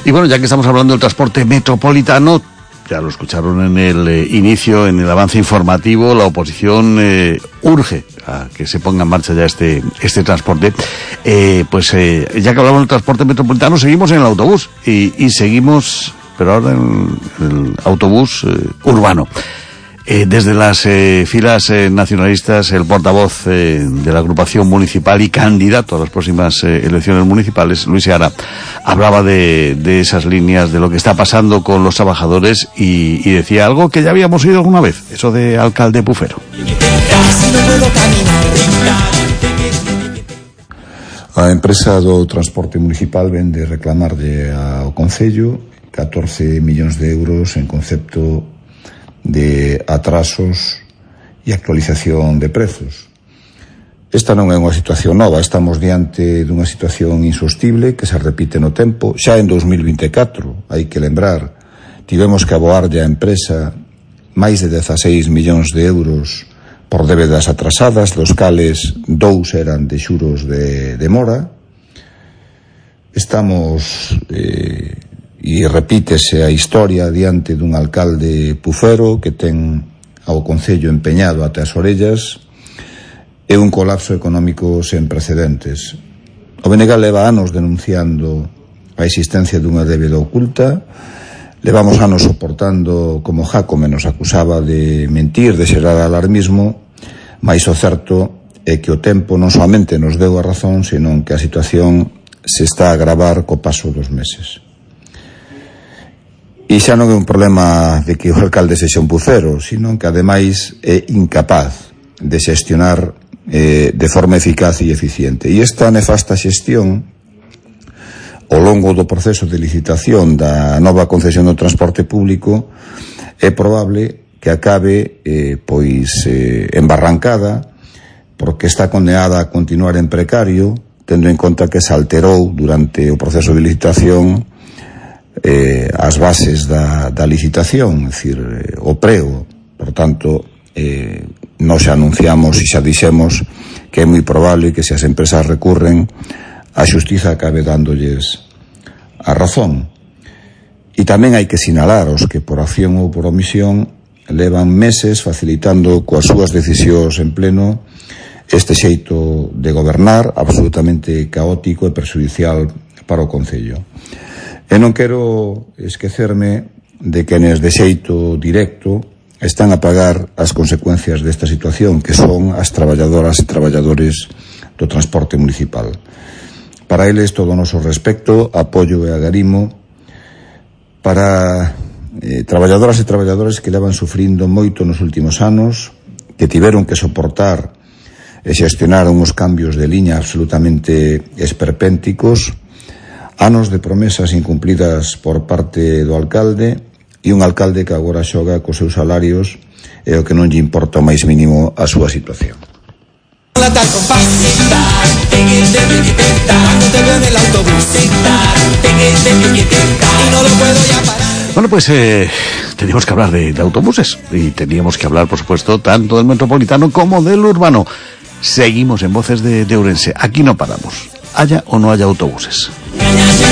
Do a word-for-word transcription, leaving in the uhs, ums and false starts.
Y bueno, ya que estamos hablando del transporte metropolitano, ya lo escucharon en el eh, inicio, en el avance informativo, la oposición eh, urge a que se ponga en marcha ya este este transporte. Eh, pues eh, ya que hablamos del transporte metropolitano, seguimos en el autobús y, y seguimos, pero ahora en el autobús eh, urbano. Eh, desde las eh, filas eh, nacionalistas, el portavoz eh, de la agrupación municipal y candidato a las próximas eh, elecciones municipales, Luis Seara, hablaba de, de esas líneas, de lo que está pasando con los trabajadores y, y decía algo que ya habíamos oído alguna vez, eso de alcalde pufero. A empresa do transporte municipal ven de reclamarlle ao Concello catorce millóns de euros en concepto de atrasos e actualización de prezos. Esta non é unha situación nova, estamos diante dunha situación insostible que se repite no tempo. Xa en dos mil vinte e catro, hai que lembrar, tivemos que aboarlle á empresa máis de dezaseis millóns de euros por débedas atrasadas, dos cales dous eran de xuros de, de mora. Estamos... Eh, e repítese a historia diante dun alcalde pufero que ten ao Concello empeñado até as orellas e un colapso económico sen precedentes. O B N G leva anos denunciando a existencia dunha débeda oculta, levamos anos soportando como Jacome nos acusaba de mentir, de xerar alarmismo, mais o certo é que o tempo non soamente nos deu a razón, senón que a situación se está a agravar co paso dos meses. E xa non é un problema de que o alcalde sexa un pufero, sino que ademais é incapaz de xestionar eh, de forma eficaz e eficiente. E esta nefasta xestión ao longo do proceso de licitación da nova concesión do transporte público é probable que acabe eh, pois eh, embarrancada, porque está condenada a continuar en precario, tendo en conta que se alterou durante o proceso de licitación Eh, as bases da, da licitación, é dicir, eh, o preo. Por tanto, eh, nós xa anunciamos e xa dixemos que é moi probable que se as empresas recurren, a xustiza acabe dándolles a razón. E tamén hai que sinalar os que por acción ou por omisión levan meses facilitando coas súas decisións en pleno este xeito de gobernar absolutamente caótico e perxudicial para o Concello. E non quero esquecerme de quenes de xeito directo están a pagar as consecuencias desta situación, que son as traballadoras e traballadores do transporte municipal. Para eles todo o noso respecto, apoio e agarimo para eh, traballadoras e traballadores que levan sufrindo moito nos últimos anos, que tiveron que soportar e xestionar uns cambios de liña absolutamente esperpénticos, anos de promesas incumplidas por parte do alcalde e un alcalde que agora xoga cos seus salarios e o que non lle importa o máis mínimo a súa situación. Bueno, pues eh, teníamos que hablar de, de autobuses y teníamos que hablar, por supuesto, tanto del metropolitano como del urbano. Seguimos en Voces de, de Ourense. Aquí no paramos, haya o no haya autobuses.